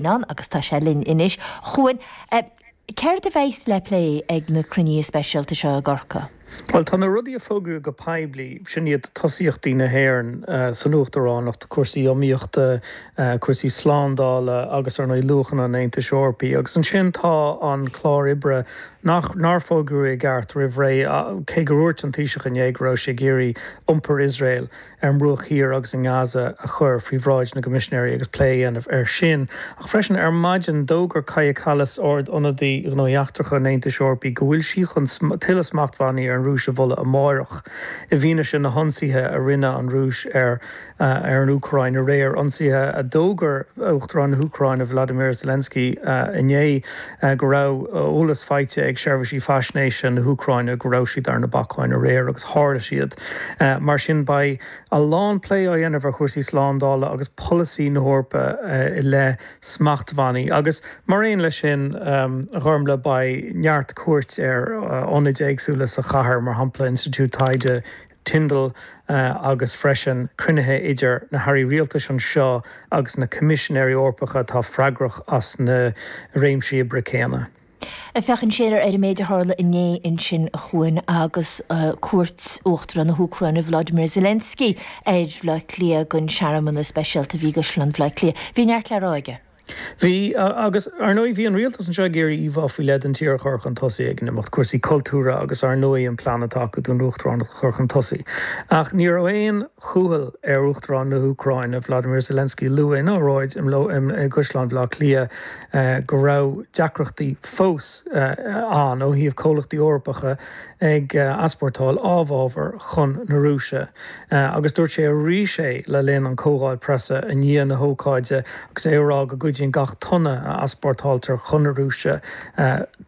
Ann agus tá sé linn anois. A Chuain, céard a bheas le plé ag na cruinnithe speisialta seo i gCorcaigh? Bhuel, tá na rudaí a fógraíodh go poiblí, sin iad tosaíochtaí na hÉireann san Uachtaránacht, cúrsaí iomaíochta, cúrsaí slándála agus, ar ndóigh, luachanna an Aontais Eorpaigh. Agus ansin tá an clár oibre nach, nár fógraíodh i gceart roimh ré, cé gur dhúirt an Taoiseach inné go raibh sé ag iarraidh iompar Iosrael ar an mBruach Thiar agus i nGaza a chur faoi bhráid na gCoimisinéirí agus plé a dhéanamh air sin. Ach freisin, ar maidin, d'fhógair Kaja Kallas, Ard-Ionadaí Ghnóthaí Eachtracha an Aontais Eorpaigh, go bhfuil sí chun tuilleadh smachtbhannaí ar an Rúis a mholadh amárach, i bhfianaise na hionsaithe a rinne an Rúis ar ar an Úcráin aréir, ionsaithe a d'fhógair Uachtarán na hÚcráine Volodymyr Zelensky inné go raibh eolas faighte ag seirbhísí faisnéise na hÚcráine go raibh siad ar na bacáin aréir agus tharla siad. Mar sin beidh a lán plé á dhéanamh ar chúrsaí slándála agus polasaí na hEorpa i leith smachtbhannaí agus mar aon leis sin, a Ghormlaith, beidh neart cuairt ar ionaid éagsúla sa chathair, mar shampla Institiúid Taighde Tyndall agus freisin cruinnithe idir na hairí rialtais anseo agus na Coimisinéirí Eorpacha atá freagrach as na réimsí oibre céanna. Ag féachaint siar ar an méid a tharla inné ansin a Chuain agus cuairt Uachtarán na hÚcráine Volodymyr Zelensky ar Bhaile Átha Cliath don searmanas speisialta a bhí i gCaisleán Bhaile Átha Cliath, bhí neart le rá aige. Bhí, agus ar ndóigh bhí an rialtas anseo ag iarraidh íomhá faoi leith den tír a chur chun tosaigh ag an imeacht, cúrsaí cultúrtha agus ar ndóigh an plean atá acu don uachtaránacht a chur chun tosaigh. Ach ní raibh aon chúthail ar Uachtarán na hÚcráine, Volodymyr Zelensky, lua ina óráid i gCaisleán Bhaile Átha Cliath go raibh deacrachtaí fós ann ó thaobh comhlachtaí Eorpacha ag easpórtáil amhábhar chun na Rúise. Agus dúirt sé arís é le linn an comhdháil preasa i ndiaidh na hócáide agus é ag rá go gcuidíonn gach tonna a easpórtáiltear chun na Rúise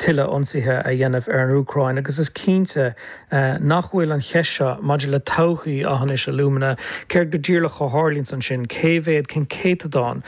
tuilleadh ionsaithe a dhéanamh ar an Úcráin. Agus is cinnte nach bhfuil an cheist seo maidir le todhchaí Aughinish Alumina, céard go díreach a tharlaíonns ansin, cé mhéad, cén céatadán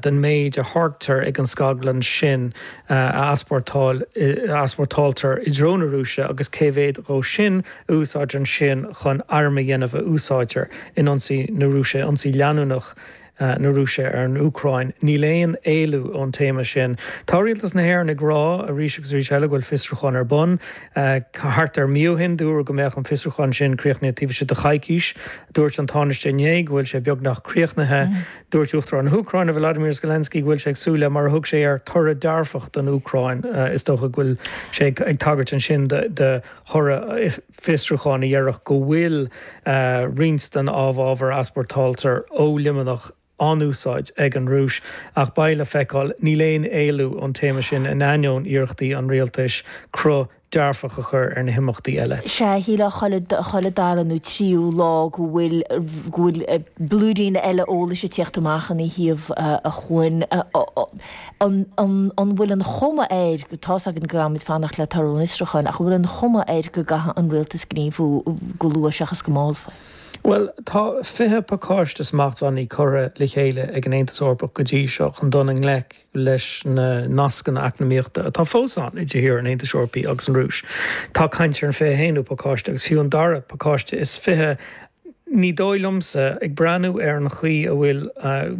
den méid a tháirgtear ag an scaglann sin a easpórtáil, a easpórtáiltear i dtreo na Rúise agus cé mhéad dhó sin a úsáidtear ansin chun airm a dhéanamh a úsáidtear in ionsaí na Rúise, ionsaí leanúnach na Rúise ar an Úcráin. Níl aon éalú ón téama sin. Tá Rialtas na hÉireann ag rá arís agus arís eile go bhfuil fiosrúchán ar bun. Thart ar mí ó shin dúradh go mbeadh an fiosrúchán sin críochnaithe taobh istigh de choicís. Dúirt an Tánaiste inné go bhfuil sé beagnach críochnaithe. Dúirt Uachtarán na hÚcráine, Volodymyr Zelensky, go bhfuil sé ag súil le, mar a thug sé air, toradh dearfach don Úcráin. Is dócha go bhfuil sé ag tagairt ansin do thoradh fiosrúcháin a dhéarfadh go bhfuil roinnt den amhábhar a easpórtáiltear ó Luimneach á n-úsáid ag an Rúis. Ach beidh le feiceáil. Níl aon éalú ón téama sin in ainneoin iarrachtaí an rialtais cruth dearfach a chur ar na himeachtaí eile. Sea, shílfeá chuile, chuile dara nó tríú lá go bhfuil, go bhfuil blúirín eile eolais ag tíocht amach ina thaobh a Chuain. An, an, an bhfuil an chuma air, tá's againn go gcaithfimid fanacht le toradh an fhiosrúcháin, ach an bhfuil an chuma air go gcaithfidh an rialtas gníomhú go luath seachas go mall faoi? Bhuel, tá 20 pacáiste smachtbhannaí curtha le chéile ag an Aontas Eorpach go dtí seo chun dul i ngleic leis na nascanna eacnamaíochta atá fós ann idir thíortha an Aontais Eorpaigh agus an Rúis. Tá caint ar an 21ú pacáiste agus fiú an dara pacáiste is 20. Ní dóigh liomsa, ag breathnú ar an chaoi a bhfuil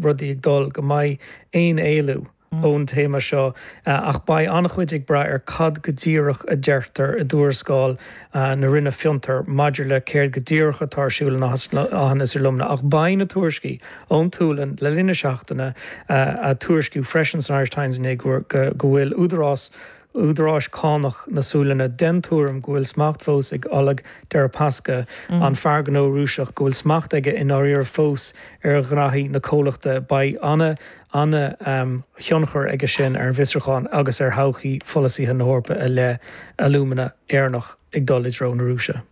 rudaí ag dul, go mbeidh aon éalú ón téama seo ach beidh an-chuid ag brath ar cad go díreach a deirtear i dtuarascáil na Roinne Fiontar maidir le céard go díreach atá ar siúl in Aughinish Alumina. Ach beidh na tuairiscí ón tSualainn le linn na seachtaine, a tuairiscíodh freisin san Irish Times inné go bhfuil údarás údaráis cánach na Sualainne den tuairim go bhfuil smacht fós ag Oleg Deripaska, an fear gnó Rúiseach, go bhfuil smacht aige i ndáiríre fós ar ghnaithí na comhlachta. Beidh ana ana-thionchar aige sin ar an bhfiosrúchán agus ar thodhchaí pholasaithe na hEorpa i leith alúmana Éireannach ag dul i dtreo na Rúise.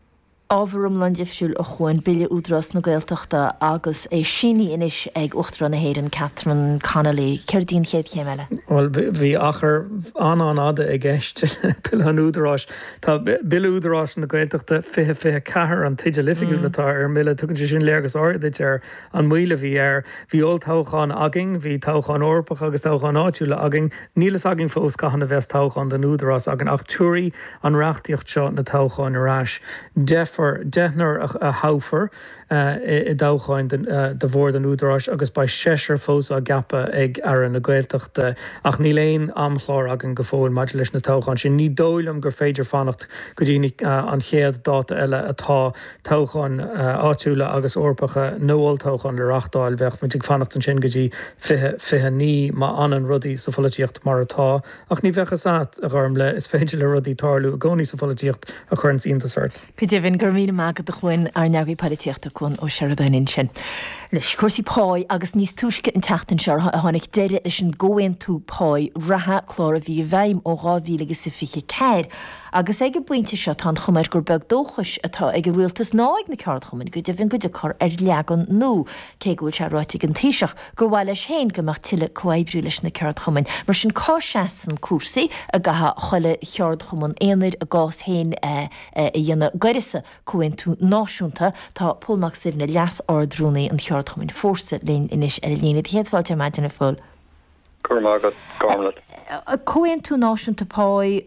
Ábhar iomlán difriúil a Chuain, Bille Údarás na Gaeltachta agus é sínithe anois ag Uachtarán na hÉireann Catherine Connolly. Céard í an chéad chéim eile? Bhuel, bhí achar an-an-fhada i gceist le Bille an Údaráis. Tá Bille Údarás na Gaeltachta 2024 an teideal oifigiúil atá ar an mbille. Tugann sé sin léargas áirithe duit ar an moill a bhí air. Bhí olltoghchán againn, bhí toghcháin Eorpacha agus toghcháin áitiúla againn. Níl fhios againn fós cathain a bheas toghchán don Údarás againn ach tabharfaidh an reachtaíocht seo na toghcháin ar ais. Deifear, deichniúr a thoghfar i dtoghcháin do Bhord an Údaráis agus beidh seisear fós á gceapadh ag Aire na Gaeltachta. Ach níl aon amchlár againn go fóill maidir leis na toghcháin sin. Ní dóigh liom gur féidir fanacht go dtí an chéad dáta eile atá toghcháin áitiúla agus Eorpacha nó olltoghchán le reachtáil. Bheadh muid ag fanacht ansin go dtí 2029 má fhanann rudaí sa pholaitíocht mar atá. Ach ní bheadh fhios a't, a Ghormlaith, is féidir le rudaí tarlú i gcónaí sa pholaitíocht a chuireanns iontas ort. Go deimhin, go raibh míle maith agat a Chuain, ár n-eagraí polaitíochta, Cuan Ó Seireadáin ansin. Anois, cúrsaí páí agus níos túisce an tseachtain seo a tháinig deireadh leis an gcomhaontú páí reatha, clár a bhí i bhfeidhm ó 2024. Agus ag an bpointe seo tá an chuma air gur beag dóchais atá ag an rialtas ná ag na ceardchumainn go deimhin go dtiocfar ar leagan nua, cé go bhfuil sé ráite ag an Taoiseach gur mhaith leis féin go mbeadh tuilleadh comhoibriú leis na ceardchumainn. Mar sin cá seasann cúrsaí? An gcaithfidh chuile cheardchumann aonair a gcás féin a dhéanamh d'uireasa comhaontú náisiúnta? Tá Pól Mac Suibhne, Leas-Ard-Rúnaí an cheardchumainn Fórsa linn anois ar an líne. Do chéad fáilte ar maidin a Phóil. Go raibh maith agat, Gormlaith. Comhaontú náisiúnta páí,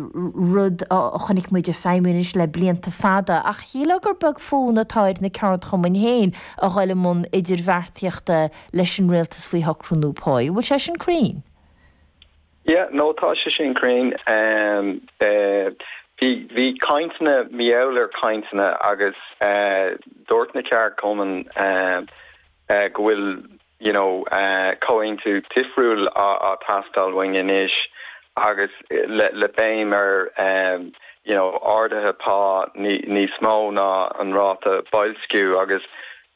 rud a chonaic muid ag feidhmiú anois le blianta fada, ach shílfeá gur beag fonn atá ar na ceardchumainn féin a dhul i mbun idirbheartaíochta leis an rialtas faoi shocrú nua páí. An bhfuil sé sin cruinn? Yeah, no, tá sé sin cruinn. Bhí, bhí cainteanna, mar gheall ar cainteanna agus dúirt na ceardchumainn go bhfuil you know comhaontú difriúil á teastáil uainn anois agus le le béim ar you know arduithe pá níos mó ná an ráta boilsciú agus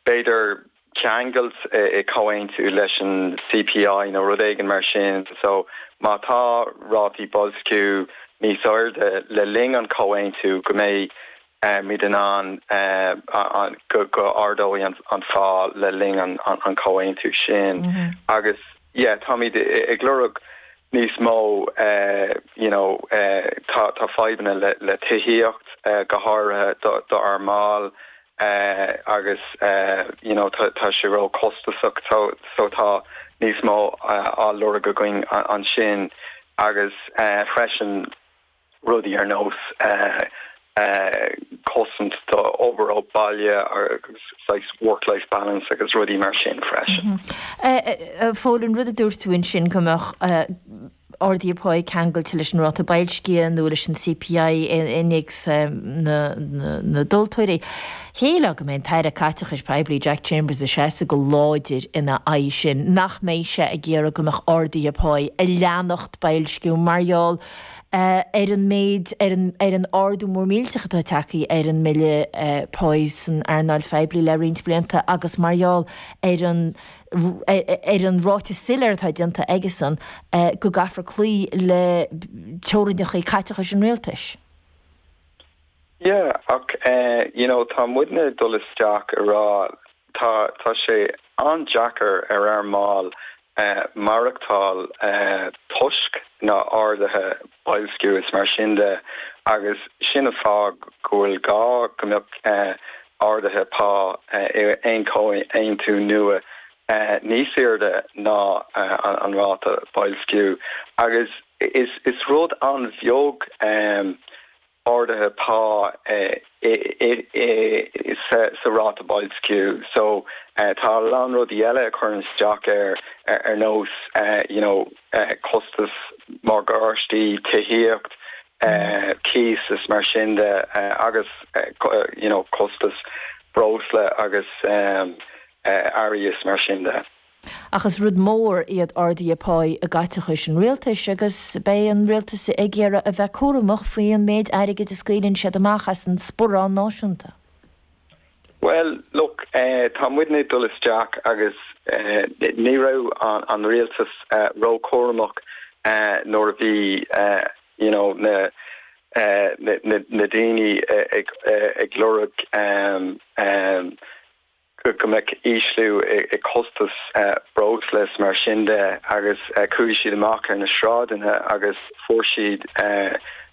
b'fhéidir ceangailt i comhaontú leis an CPI nó rud éigin mar sin so má tá rátaí boilsciú níos airde le linn an comhaontú go mbeidh muid in ann go ardóidh an phá le linn an chomhaontú sin agus yeah táimid ag lorg níos mó you know tá tá fadhbanna le le tithíocht go háirithe do do ár mbaill agus you know tá tá sé ró costasach so so tá níos mó á lorg againn ansin agus freisin rudaí ar nós cosaint do obair ó bhaile agus saghas work-life balance agus rudaí mar sin freisin. A Phóil, an rud a dúirt tú ansin go mbeadh arduithe páí ceangailte leis an ráta boilscithe nó leis an CPI, innéacs na dtomhaltóirí, shílfeá go mbeidh an tAire Caiteachais Poiblí Jack Chambers ag seasamh go láidir ina aghaidh sin, nach mbeidh sé ag iarraidh go mbeadh arduithe páí ag leanacht boilsciú mar gheall ar an méid, ar an, ar an ardú mór millteach atá tagtha ar an mbille páí san earnáil phoiblí le roinnt blianta agus mar gheall ar an, ar an ráiteas soiléir atá déanta aigesan go gcaithfear cloí le teorainneacha caiteachais an rialtais. Yeah, ach you know tá muidne ag dul isteach ag rá tá, tá sé an-deacair ar ár mbaill maireachtáil toisc na arduithe boilsciú is mar sin de agus sin an fáth go bhfuil gá go mbeadh arduithe pá i aon chomhaontú nua níos airde ná an ráta boilsciú agus is rud an-bheag arduithe pá sa ráta boilsciú. So tá a lán rudaí eile a chuireann isteach air ar nós you know costas morgáistí, tithíocht, cíos is mar sin de agus you know costas breosla agus earraí is mar sin de. Ach is rud mór iad arduithe páí i gcaiteachais an rialtais agus beidh an rialtas ag iarraidh a bheith cúramach faoi an méid airgid a scaoileann siad amach as an sparán náisiúnta. Bhuel, look, tá muidne ag dul isteach agus ní raibh an rialtas ró-chúramach nuair a bhí you know na na daoine ag lorg. go mbeadh ísliú i costas breosla is mar sin de agus chuaigh siad amach ar na sráideanna agus fuair siad.